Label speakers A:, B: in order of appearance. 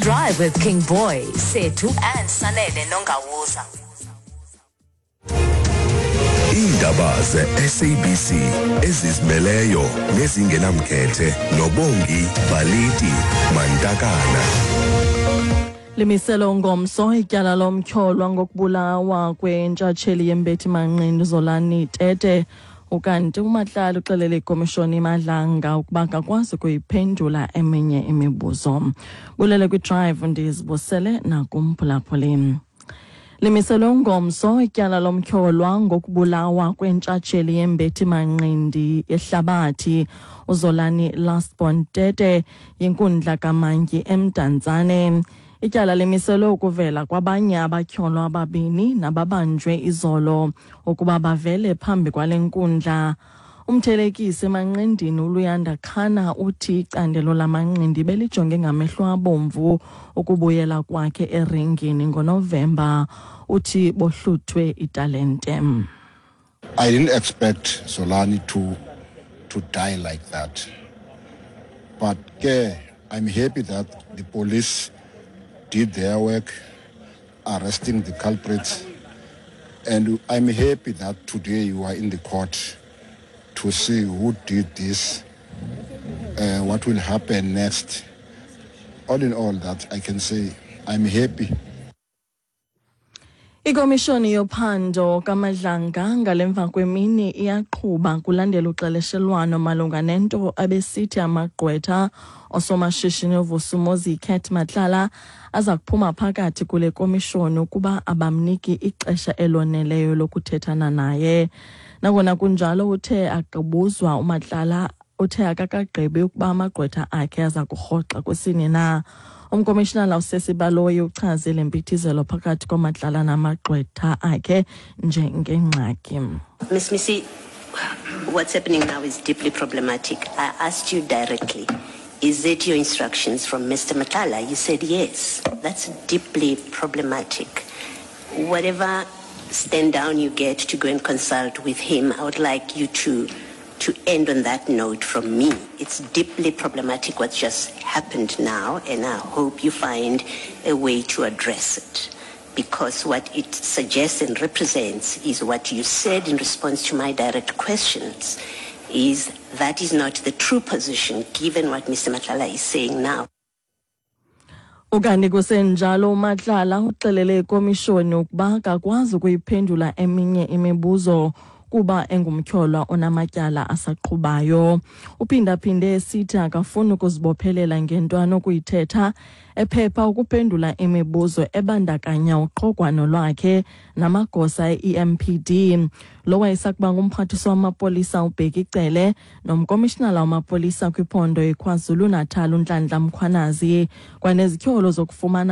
A: Drive with King Boy, Sethu and Sanele Nongawuza.
B: Iindaba ze-SABC ezizimeleyo nezingenamkhethe noBongi Baliti Mantakana.
C: Limiselo ngomso ityala lomtyholwa ngokubulawa kwentshatsheli yembethi manqindi Zolani Tete. Ukanti uMatlala uxelele ikomishoni iMadlanga ukuba akakwazi ukuyiphendula eminye imibuzo. Bulele kwiDrive, ndizibusele nakumphulaphuli. Limiselwe ngomso ityala lomtyholwa ngokubulawa kwentshatsheli yembethi manqindi yehlabathi uZolani Lastborn Tete yinkundla kamantyi eMdantsane. Ityala limiselwe ukuvela kwabanye abatyholwa ababini nababanjwe izolo ukuba bavele phambi kwale nkundla. Umthelekisi emanqindini uLuyanda Khana uthi icandelo lamanqindi belijonge ngamehlo abomvu ukubuyela kwakhe eringini ngoNovemba. Uthi bohluthwe italente.
D: I didn't expect Zolani to die like that. But ke, I'm happy that the police did their work, arresting the culprits. And I'm happy that today you are in the court to see who did this, what will happen next. All in all, that I can say I'm happy.
C: Ikomishoni yophando kaMadlanga ngalemva kwemini iyaqhuba kulandela uxeleshelwano malunga nento abesithi amagqwetha osomashishini uVusimuzi Cat Matlala aza kuphuma phakathi kule komishoni ukuba abamniki ixesha eloneleyo lokuthethana naye. Nangona kunjalo, uthe akabuzwa uMatlala uthe akakagqibi ukuba amagqwetha akhe aza kurhoxa kwesini na. Umkomishinala uSesi Baloyi uchaze le mpithizelo phakathi koMatlala namagqwetha akhe njengengxaki.
E: Ms. Mnisi, what's happening now is deeply problematic. I asked you directly, is it your instructions from Mr. Matlala? You said yes. That's deeply problematic. Whatever stand down you get to go and consult with him, I would like you to end on that note from me. It's deeply problematic what just happened now, and I hope you find a way to address it. Because what it suggests and represents is what you said in response to my direct questions, is that is not the true position given what Mr. Matlala is saying now.
C: Ukanti kusenjalo, uMatlala uxelele ikomishoni ukuba akakwazi ukuyiphendula eminye imibuzo kuba engumtyholwa onamatyala asaqhubayo. Uphindaphinde esithi akafuni ukuzibophelela ngento anokuyithetha, ephepha ukuphendula imibuzo ebandakanya uqhogwano lwakhe namagosa e-EMPD. Lo wayesakuba ngumphathiswa wamapolisa uBheki Cele nomkomishinala wamapolisa kwiphondo iKwaZulu-Natal uNhlanhla Mkhwanazi, kwanezityholo zokufumana